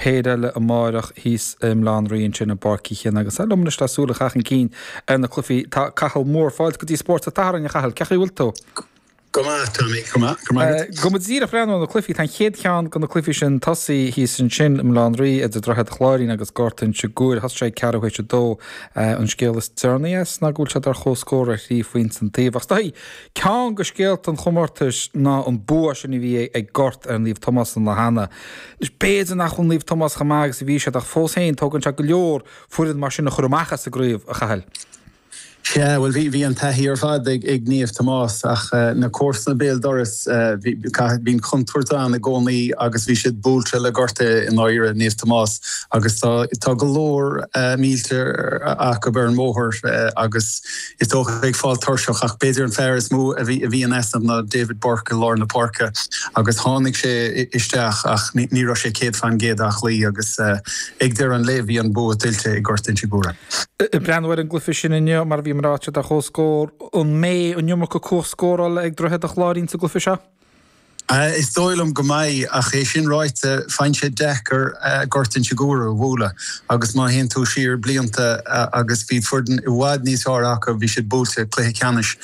Péire eile amáireach thíos i mBaile Átha an Rí ansin i bPáirc Uí Chinn agus liom anois le súil a chaitheamh chun cinn ar na cluichí tá Cathal Moore. Fáilte go dtí Spórt an tSathairn, a Chathail. Cén chaoi a bhfuil tú? Go maith, Tommy. Go maith. Go maith agat. Go mba díreach breathnú ar na cluichí. Tá an chéad cheann de na cluichí sin tosaithe thíos ansin i mBaile Átha an Rí idir Droichead Chláirín agus Gort Inse Guaire. Thosaigh sé ag ceathrú théis a dó. An scéal is deireanaí as ná go bhfuil siad ar comhscór ar thrí phointe an taobh. Ach is dóigh, ceann de scéalta an chomórtais ná an bua sin a bhí ag Gort ar Naomh Tomás an lá cheana. Anois, b'fhéidir nach bhfuil Naomh Tomás chomh maith agus a bhí siad ach fós féin, tógann sé go leor foireann mar sin a chur amach as an gcraobh, a Chathail. Sea, bhuel, bhí, bhí an taithí ar fad ag, ag Naomh Tomás ach na comharsana béal dorais, bhí, bíonn contúirt ann i gcónaí agus bhí siad buailte le gorta i ndáiríre, Naomh Tomás, agus tá, tá go leor mílte acu ar an mbóthar agus is dócha ag fáil tuirseach ach b'fhéidir an fear is mó a bhí, a bhí in easnamh ná David Burke i lár na páirce agus tháinig sé isteach ach ní, ní raibh sé 100% aclaí agus ag deireadh an lae bhí an bua tuillte ag Gort Inse Guaire. Ag breathnú ar an gcluiche sin inniu, mar a bhí mé ag rá, tá siad ar comhscór, an mbeidh an iomarca cumhacht scórála ag Droichead an Chláirín sa gcluiche seo? Is dóigh liom go mbeidh, ach é sin ráite, faigheann sé deacair Gort Inse Guaire a bhualadh agus má théann tú siar blianta agus bhí foireann i bhfad níos fearr acu, bhí siad buailte cluiche ceannais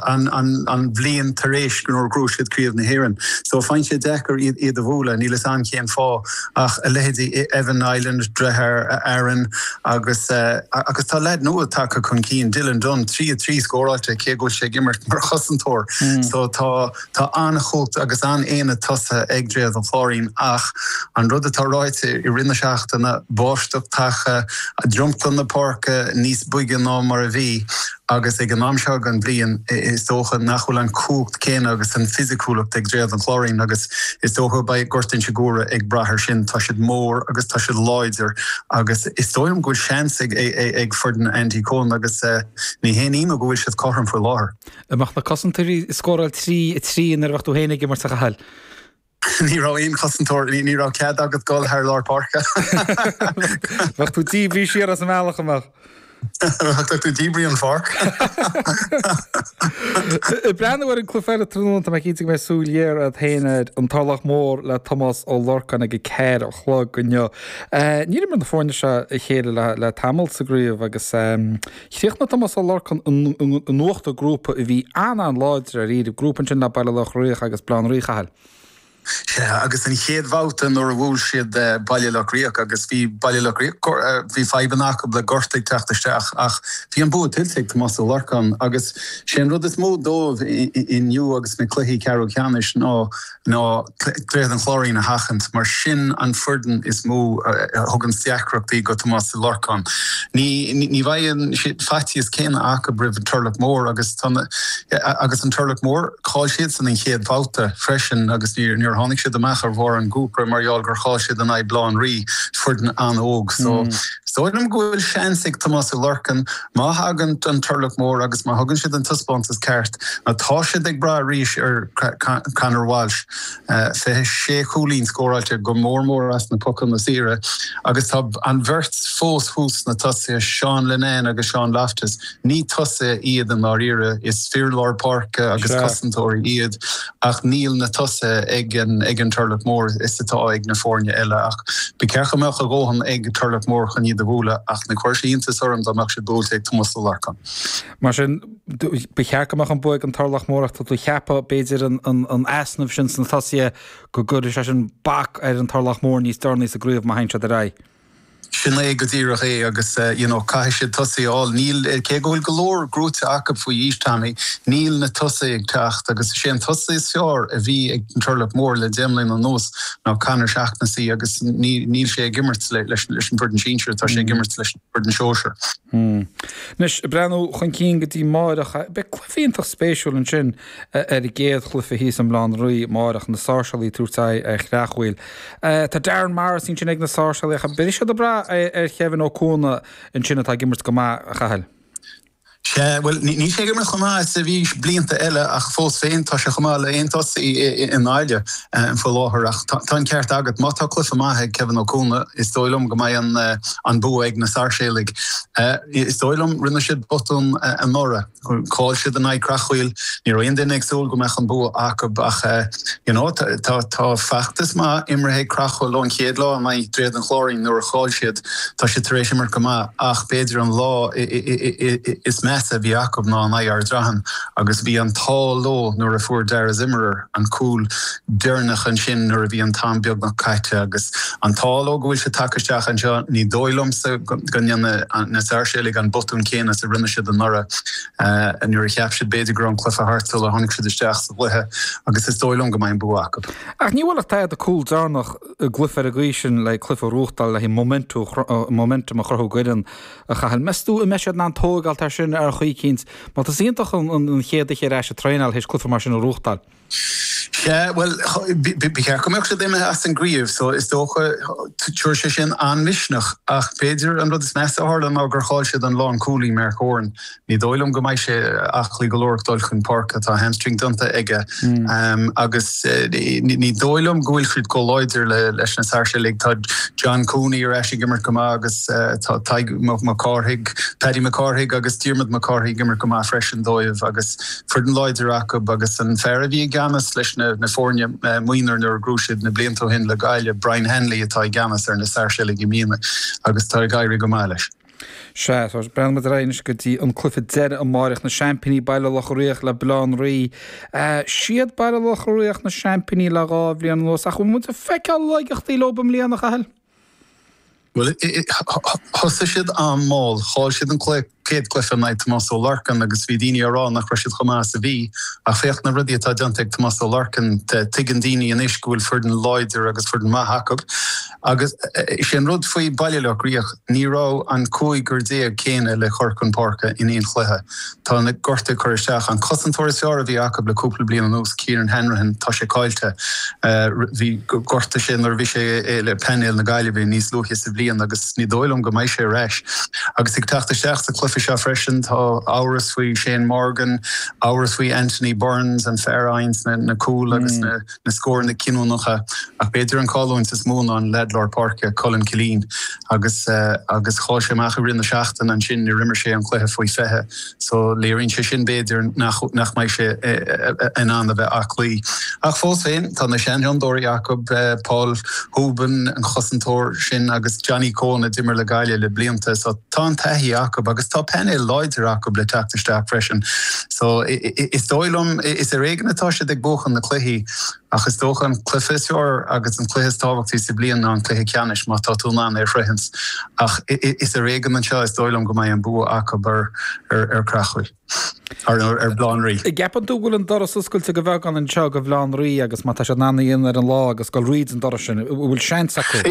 an an bhliain tar éis nuair a ghnóthaigh siad Craobh na hÉireann. So faigheann sé deacair iad a bhualadh, níl 'fhios a'm cén fáth. Ach a leithéidí Evan Niland, deartháir Aaron agus agus tá leaid nua tagtha chun cinn, Dylan Dunne, 3 3 scóráilte cé go bhfuil sé ag imirt mar chosantóir. So tá tá an-chumhacht agus an-aonad tosaithe ag Droichead an Chláirín ach an rud atá ráite i rith na seachtaine, báisteach tagtha, dromchla na páirce níos boige ná mar a bhí. Agus ag an am seo den bhliain, is dócha nach bhfuil an cumhacht céanna agus an fisiciúlacht ag Droichead an Chláirín agus is dócha beidh Gort Inse Guaire ag brath air sin. Tá siad mór agus tá siad láidir agus is dóigh liom go bhfuil seans ag ag foireann Andy Coen agus ní haon ionadh go bhfuil siad cothrom faoi láthair. An mbeadh na cosantóirí ag scóráil 3, 3 nuair a bheadh tú féin ag imirt, a Chathail? Ní raibh aon chosantóir, ní raibh cead agat dul thar lár páirce. Bheadh tú díbrithe siar as an mbealach, an mbeadh? Bheadh tú díbrithe an pháirc. Ag breathnú ar an cluiche eile tráthnóna, tá mé cinnte go mbeidh súil ghéar agat féin air, an Turlach Mór le Tomás Ó Lorcáin ag a ceathair a chlog inniu. Níor imir na foirne seo a chéile le tamall sa gcraobh agus Chríochnaigh Tomás Ó Lorcáin in uachtar grúpa a bhí an-an-láidir dáiríre, grúpa ansin le Baile Locha Riach agus Baile Átha an Rí, a Chathail. Sea, agus an chéad bhabhta nuair a bhuail siad Baile Locha Riach agus bhí Baile Locha Riach, bhí fadhbanna acu le gorta ag teacht isteach ach bhí an bua tuillte ag Tomás Ó Lorcáin agus sé an rud is mó dóibh inniu agus na cluichí ceathrú ceannais ná ná Droichead an Chláirín a sheachaint, mar sin an foireann is mó a thuganns deacrachtaí go Tomás Ó Lorcáin. Ní ní bheidh an faitíos céanna acu roimh an Turlach Mór agus tá na agus an Turlach Mór, chaill siadsan an chéad bhabhta freisin agus níor níor tháinig siad amach ar bharr an ghrúpa mar gheall gur chaill siad in aghaidh Baile Átha an Rí, foireann an-óg. So is dóigh liom go bhfuil seans ag Tomás Ó Lorcáin má thagann an Turlach Mór agus má thugann siad an taispeántas ceart, Nó tá siad ag brath arís ar Conor Walsh, 26 chúilín scóráilte, go mór mór as na pocanna saora, agus tá an bheirt fós thuas sna tosaithe, Seán Linnane agus Seán Loftus. Ní tosaithe iad i ndáiríre, is fir lár páirce agus cosantóirí iad, ach níl na tosaithe ag an Turlach Mór is atá ag na foirne eile. Ach ba cheart go mbeadh a dhóthain ag Turlach Mór chun iad a bhualadh, ach ní chuirfeadh sé iontas orm dá mbeadh siad buailte ag Tomás Ó Lorcáin. Mar sin, ba cheart go mbeadh an bua ag an Turlach Mór ach tá tú ag ceapadh, b'fhéidir, an easnamh sin sna tosaithe go gcuirfidh sé sin bac ar an Turlach Mór níos deireanaí sa gcraobh má théann siad ar aghaidh. Sin é go díreach é agus you know caithfidh siad tosaí a fháil. Níl, cé go bhfuil go leor gnóite acu faoi aois, Tommy, níl na tosaithe ag teacht agus is é an tosaí is fearr a bhí ag an Turlach Mór le deich mbliana anuas ná Conor Shaughnessy agus níl sé ag imirt leis an bhfoireann sinsir, tá sé ag imirt leis an bhfoireann sóisir. Anois, ag breathnú chun cinn go dtí amáireach, beidh cluiche iontach spéisiúil ansin ar an gcéad chluiche thíos i mBaile Átha an Rí amáireach, na Sáirséalaigh ag tabhairt aghaidh ar Chreachmhaoil. Tá Darren Morrissey ansin ag na Sáirséalaigh ach beidh siad ag brath ar Kevin Ó Cuana ansin atá ag imirt go maith, a Chathail. Sea, bhuel, níl sé ag imirt chomh maith is a bhí blianta eile ach fós féin tá sé chomh maith le aon tosaí i nGaillimh faoi láthair. Ach tá an ceart agat, má tá cluiche maith ag Kevin Ó Cuana, is dóigh liom go mbeidh an bua ag na Sáirséalaigh. Is dóigh liom, rinne siad botún anuraidh. Chaill siad in aghaidh Creachmhaoil. Ní raibh aon duine ag súil go mbeadh an bua acu ach you know tá feachtas maith imeartha ag Creachmhaoil ón chéad lá in aghaidh Droichead an Chláirín nuair a chaill siad. Tá siad tar éis imirt go maith ach b'fhéidir an lá is measa a bhí acu ná in aghaidh Ard Raithin agus bhí an t-ádh leo nuair a fuair Dara Zimmerer an cúl deireanach ansin nuair a bhí an t-am beagnach caite agus an t-ádh leo go bhfuil siad tagtha isteach anseo. Ní dóigh liomsa go ndéanfaidh na Sáirséalaigh an botún céanna is a rinne siad anuraidh nuair a cheap siad b'fhéidir go raibh an cluiche thart sula tháinig siad isteach sa gcluiche agus is dóigh liom go mbeidh an bua acu. Ach ní bhuailfeadh tada cúl deireanach i gcluiche ar an gcaoi sin le cluiche a ghnóthachtáil le haghaidh momentum a chruthú d'fhoireann a Chathail. Meas tú an mbeidh siad in ann tóigeáilt air sin ar chaoi eicínt? Mar tá sé iontach an chéad oíche ar ais ag traenáil théis cluiche mar sin a ghnóthachtáil. Sea, bhuel, ba cheart go mbeadh siad imithe as an gcraobh so is dócha, tabharfaidh sé sin an-mhisneach ach b'fhéidir an rud is measa a tharla ná gur chaill siad an lánchúlaí Mark Horan. Ní dóigh liom go mbeidh sé aclaí go leor ag dul chun páirce, tá hamstring déanta aige agus ní dóigh liom go bhfuil siad chomh láidir leis na Sáirséalaigh. Tá John Cooney ar ais ag imirt go maith agus tá Tadhg Mac Cárthaigh, Paddy Mac Cárthaigh agus Diarmuid Mac Cárthaigh ag imirt go maith freisin dóibh agus foireann láidir acu agus an fear a bhí i gceannas leis na foirne mionúir nuair a ghnóthaigh siad na blianta ó shin le Gaillimh, Brian Hanley atá i gceannas ar na Sáirséalaigh i mbliana agus tá ag éirí go maith leis. Sea, breathnaíonn muid ar aghaidh anois go dtí an cluiche deiridh amáireach, na seaimpíní Baile Locha Riach le Baile Átha an Rí. Siad Baile Locha Riach na seaimpíní le dha bhliain anuas ach bhfuil muid ag feiceáil laigeachtaí leo i mbliana, a Chathail? Bhuel, thosaigh siad an-mhall. Chaill siad an chéad cluiche in aghaidh Tomás Ó Lorcáin agus bhí daoine á rá nach raibh siad chomh maith is a bhí. Ach féach na rudaí atá déanta ag Tomás Ó Lorcáin. Tuigeann daoine anois go bhfuil foireann láidir agus foireann maith acu. Agus is é an rud faoi Baile Locha Riach, ní raibh an cúigear céanna le cur chun páirce in aon chluiche. Tá na gortuithe ag cur isteach. An cosantóir is fearr a bhí acu le cúpla bliain anuas, Kieran Hanrahan, tá sé caillte. Bhí gortaigh sé nuair a bhí sé le painéal na Gaillimhe níos luaithe sa bhliain agus ní dóigh liom go mbeidh sé ar ais. Agus ag teacht isteach sa chluiche seo freisin, tá amhras faoi Shane Morgan, amhras faoi Anthony Burns, an fear a fhaigheanns na cúil agus na. na scóranna cinniúnacha ach b'fhéidir an chailliúint is mó ná an leaid lár páirce, Colin Killeen, agus agus chaill sé amach i rith na seachtaine ansin nuair imir sé an cluiche faoi 20 so léiríonn sé sin b'fhéidir nach nach mbeidh sé in ann a bheith aclaí. Ach fós féin tá na seanfhondúirí acu, Paul Hoban, an cosantóir sin agus Johnny Coen a d'imir le Gaillimh le blianta so tá an taithí acu agus tá painéal láidir acu le teacht isteach freisin so is dóigh liom is ar éigean atá siad ag buachan na cluichí ach is dócha an cluiche is fearr agus an cluiche is tábhachtaí sa bhliain ná an cluiche ceannais má tá tú in ann é a shroichint ach is ar éigean anseo is dóigh liom go mbeidh an bua acu ar ar Creachmhaoil ar ar Bhaile Átha an Rí. An gceapann tú go bhfuil an doras oscailte de bheagán anseo do Bhaile Átha an Rí agus má tá siad in ann a dhéanamh ar an lá agus dul thríd an doras sin, an bhfuil seans acu?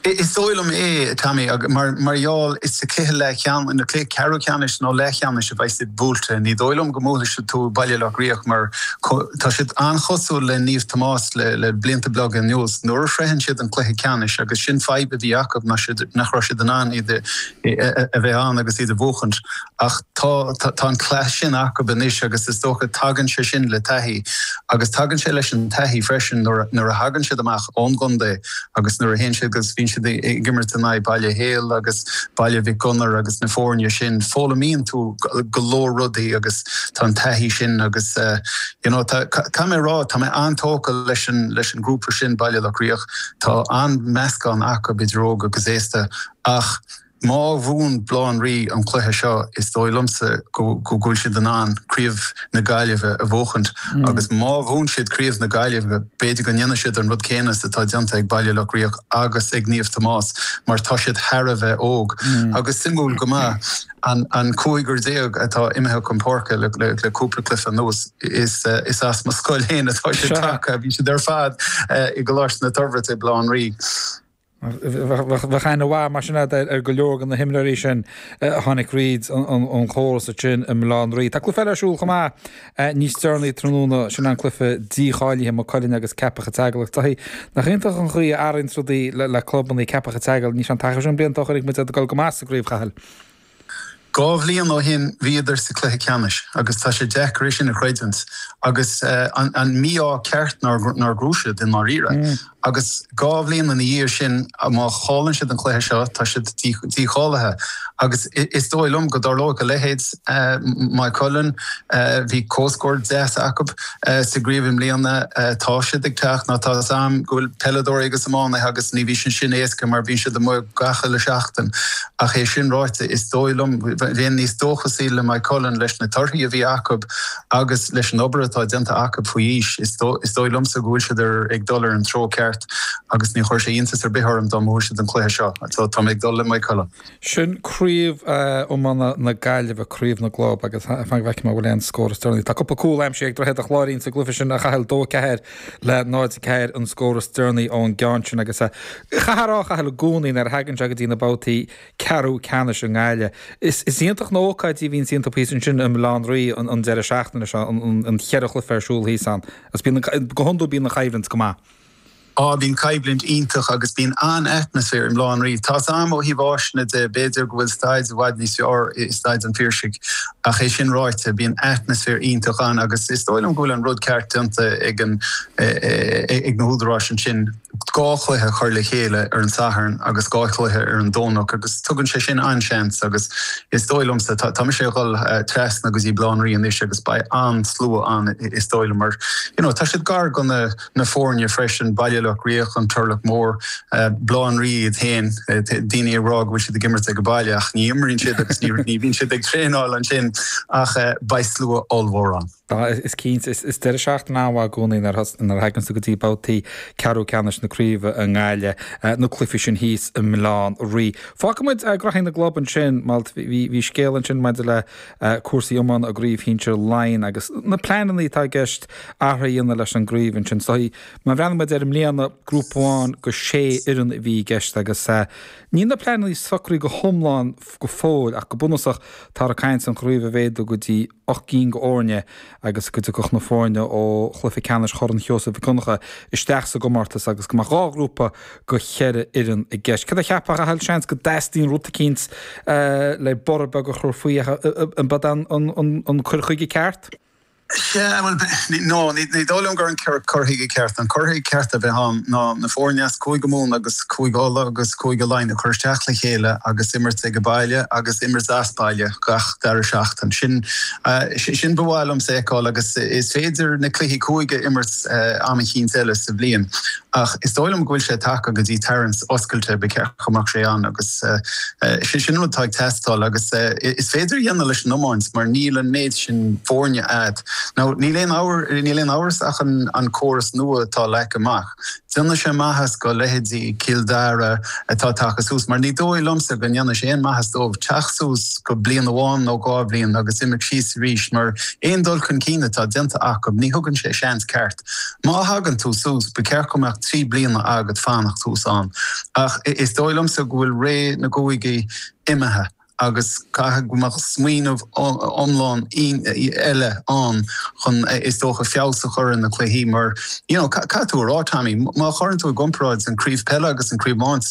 Is dóigh liom é, Tommy, mar gheall is sa cluiche leathcheannais, nó cluiche ceathrú ceannais nó leathcheannais a bheidh siad buailte. Ní dóigh liom go mbuailfidh siad tú Baile Locha Riach mar tá siad an-chosúil le Naomh Tomás le blianta beaga anuas. Nuair a shroicheann siad an cluiche ceannais, agus sin fadhb a bhí acu ná nach raibh siad in ann iad a bheith ann agus iad a bhuachaint. Ach tá, tá an cleas sin acu anois agus is dócha tagann sé sin le taithí. Agus tagann sé leis an taithí freisin nuair, nuair a thagann siad amach ón gcontae agus nuair a théann siad agus bíonn siad ag imirt in aghaidh Baile Héil agus Baile Mhic Gonair agus na foirne sin, foghlaimíonn tú go leor rudaí agus tá an taithí sin agus you know tá, caithfidh mé a rá, tá mé an-tógtha leis an, leis an ngrúpa sin, Baile Locha Riach. Tá an-meascán acu idir óg agus aosta ach, Má bhuann Baile Átha an Rí an cluiche seo, is dóigh liomsa go bhfuil siad in ann Craobh na Gaillimhe a bhuachaint agus má bhuann siad Craobh na Gaillimhe, b'fhéidir go ndéanfaidh siad an rud céanna is atá déanta ag Baile Locha Riach agus ag Naomh Tomás mar tá siad thar a bheith óg. Agus suimiúil go maith, an cúigear atá imithe chun páirce le cúpla cluiche anuas, is as mo scoil féin atá siad tagtha, bhí siad ar fad i gColáiste na Toirbhirte i Baile Átha an Rí. Bheadh aithne mhaith mar sin agat ar go leor de na himreoirí sin a tháinig thríd an chóras ansin i mBaile Átha an Rí. Tá cluiche eile ar siúl chomh maith níos deireanaí tráthnóna, sin an cluiche dícháilithe, Maigh Cuilinn agus Ceapach an tSeagail. Ach Dáithí, nach iontach an chaoi a athraíonn rudaí le clubannaí Ceapach an tSeagail, níl sé an taca sin blianta ó chonaic muid iad ag dul go maith sa gcraobh, Chathail. 2 bhliain ó shin bhíodar sa cluiche ceannais agus tá sé deacair é sin a chreidiúint agus an mí-ádh ceart nár ghnóthaigh siad i ndáiríre. Agus 2 bhliain ina dhiaidh sin má chailleann siad an cluiche seo tá siad dícháilithe agus is dóigh liom go dtarlóidh a leithéid. Maigh Cuilinn, bhí comhscór deas acu sa gcraobh i mbliana, tá siad ag teacht nó tá 'fhios a'm go bhfuil peileadóirí agus iománaithe agus ní bhíonn sin éasca mar bíonn siad amuigh gach uile seachtain. Ach é sin ráite, is dóigh liom, bheinn níos dóchasaí le Maigh Cuilinn leis na torthaí a bhí acu agus leis an obair atá déanta acu faoi aois, is dóigh liomsa go bhfuil siad ar ag dul ar an treo ceart agus ní chuirfeadh sé iontas ar bith orm dá mbuafadh siad an cluiche seo. So tá mé ag dul le Maigh Cuilinn. Sin craobh iomána na Gaillimhe, craobh na gclub agus fan go bhfeicfidh mé an bhfuil aon scór is deireanaí. Tá cúpla cúl aimsithe ag Droichead an Chláirín sa gcluiche sin a Chathail, 2-4 le 0-4 an scór is deireanaí ón gceann sin agus chaithfeá a rá, a Chathail, i gcónaí nuair a thagann sé go dtí na babhtaí ceathrú ceannais i nGaillimh. Is iontach na hócáidí a bhíonns iontu thíos ansin i mBaile Átha an Rí an deireadh seachtaine seo, an cheithre chluiche ar siúl thíos ann. Agus bíonn, go hiondúil bíonn an choimhlint go maith. Á, bíonn coimhlint iontach agus bíonn an-atmaisféar i mBaile Átha an Rí. Tá's a'm ó thaobh áiseanna de, b'fhéidir go bhfuil staid i bhfad níos fearr i Staid an Phiarsaigh ach é sin ráite, bíonn atmaisféar iontach ann agus is dóigh liom go bhfuil an rud ceart déanta ag an, ag na húdaráis ansin 2 chluiche a chur le chéile ar an Satharn agus 2 chluiche ar an Domhnach agus tugann sé sin an-seans agus is dóigh liomsa, tá mise ag dhul trasna go dtí Baile Átha an Rí anois agus beidh an-slua ann is dóigh liom mar you know tá siad gar go na na foirne freisin, Baile Locha Riach, an Turlach Mór, Baile Átha an Rí iad féin, daoine ag rá go bhfuil siad ag imirt ag baile ach ní imríonn siad agus ní bhíonn siad ag traenáil ansin ach beidh slua ollmhór ann. Is cinnte, is deireadh seachtaine an-mhaith i gcónaí nuair a thagann tú go dtí babhtaí ceathrú ceannais na craoibhe i nGaillimh, na cluichí sin thíos i mBaile Átha an Rí. Fágfaidh muid graithí na gclub ansin, bhí scéal ansin maidir le cúrsaí iomána i gCraobh Shinsir Laighean agus na pleananna atá i gceist athruithe a dhéanamh leis an gcraobh ansin. So, má bhreathnaíonn muid air i mbliana, grúpa amháin go sé fhoireann a bhí i gceist agus níl na pleananna socraithe go hiomlán go fóill ach go bunúsach táthar ag caint an chraobh a mhéadú go dtí 8 gcinn go fhoirne agus go dtiocfadh na foirne ó chluiche ceannais Chorn Sheosaimh Mhic Donncha isteach sa gcomórtas agus go mbeadh 2 ghrúpa go cheithre fhoireann i gceist. Cad a cheapfá, a Chathail? Seans go dteastaíonn rud eicínt le borradh beag a chur faoi ach an b'ead an cur chuige ceart? Sea, bhuel, no, ní dóigh liom gur an cur chuige ceart. An cur chuige ceart a bheith ann ná na foirne as Cúige Mumhan agus Cúige Uladh agus Cúige Laighean a chur isteach le chéile agus imirt ag baile agus imirt as baile gach dara seachtain. Sin, sin ba mhaith liomsa a fheiceáil agus is féidir na cluichí cúige a imirt am eicínt eile sa bhliain. Ach is dóigh liom go bhfuil sé tagtha go dtí tarraingt oscailte, ba cheart go mbeadh sé ann agus sin an rud atá ag teastáil agus is féidir a dhéanamh leis an iomáint mar níl an méid sin foirne a'd. Now níl aon níl aon amhras ach an córas nua atá leagtha amach, déanfaidh sé maitheas go leithéidí Cill Dara atá tagtha suas mar ní dóigh liomsa go ndéanfaidh sé aon maitheas dóibh teacht suas go bliain amháin nó 2 bhliain agus imeacht síos arís mar aon dul chun cinn atá déanta acu ní thugann sé seans ceart Má thagann tú suas, ba cheart go mbeadh 3 bliana agat fanacht thuas ann. Ach is dóigh liomsa go bhfuil ré na gcúigí imithe agus caithfidh go mbeadh smaoineamh iomlán eile ann chun, is dócha, feabhas a chur ar na cluichí mar, you know, caithfidh tú a rá, Tommy, má chuireann tú i gcomparáid an craobh peile agus an craobh iomáint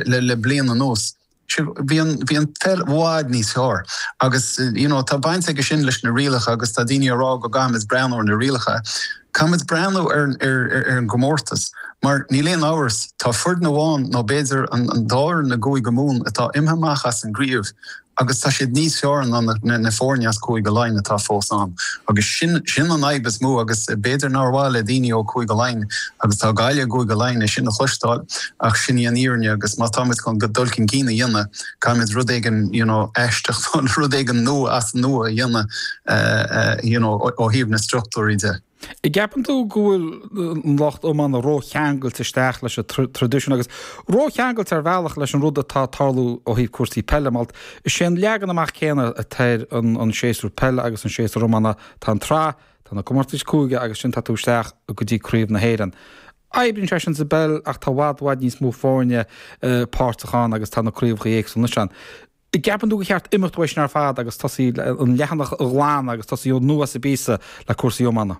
le bliain anuas, Bhí an, bhí an pheil i bhfad níos fearr agus you know tá baint aige sin leis na rialacha agus tá daoine ag rá go gcaithfimid breathnú ar na rialacha. Caithfimid breathnú ar, ar, ar an gcomórtas mar níl aon amhras tá foireann amháin nó b'fhéidir an, an dá fhoireann i gCúige Mumhan atá imithe amach as an gcraobh agus tá siad níos fearr ná na, na foirne as Cúige Laighean atá fós ann agus sin, sin an fhadhb is mó agus b'fhéidir nár mhaith le daoine ó Cúige Laighean Agus tá Gaillimh i gCúige Laighean é sin a chloisteáil, ach sin í an fhírinne agus má táimid chun dul chun cinn a dhéanamh, caithfimid rud éigin you know aisteach nó rud éigin nua as an nua a dhéanamh you know ó thaobh na struchtúirí de. An gceapann tú go bhfuil an lucht iomána rócheangailte isteach leis an traidisiún agus rócheangailte ar bhealach leis an rud atá ag tarlú ó thaobh cúrsaí peile? Mar is é an leagan amach céanna atá ar an séasúr peile agus an séasúr iomána. Tá an tsraith Tá na comórtais cúige agus ansin tá tú isteach go dtí Craobh na hÉireann. Oibríonn sé sin sa bpeil ach tá i bhfad, bhfad níos mó foirne páirteach ann agus tá na craobhacha éagsúla anois ann. An gceapann tú gur cheart imeacht uaidh sin ar fad agus tosaí an leathanach a ghlanadh agus tosaí ó nua sa bpíosa le cúrsaí iomána?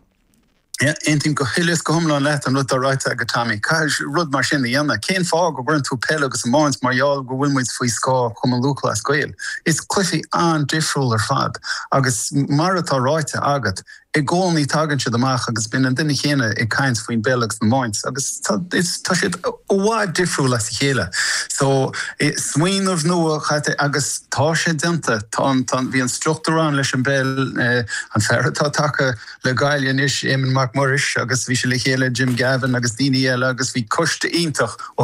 Aontaím go huile is go hiomlán leat an rud atá ráite agat Tommy. Caithfidh rud mar sin a dhéanamh. Cén fáth go gcuireann tú peil agus iomáint mar gheall go bhfuil muid faoi scáth Chumann Lúthchleas Gael? Is cluichí an-difriúil ar fad agus mar atá ráite agat, i gcónaí tagann siad amach agus bíonn an duine chéanna ag caint faoin bpeil agus an iomáint agus tá tá siad i bhfad difriúil as a chéile. So, smaoineamh nua caite agus tá sé déanta. Tá an tá bhí an struchtúr ann leis an bpeil, an fear atá tagtha le Gaillimh anois, Éamonn Mac Muiris agus bhí sé le chéile Jim Gavin agus daoine eile agus bhí coiste iontach ó thaobh.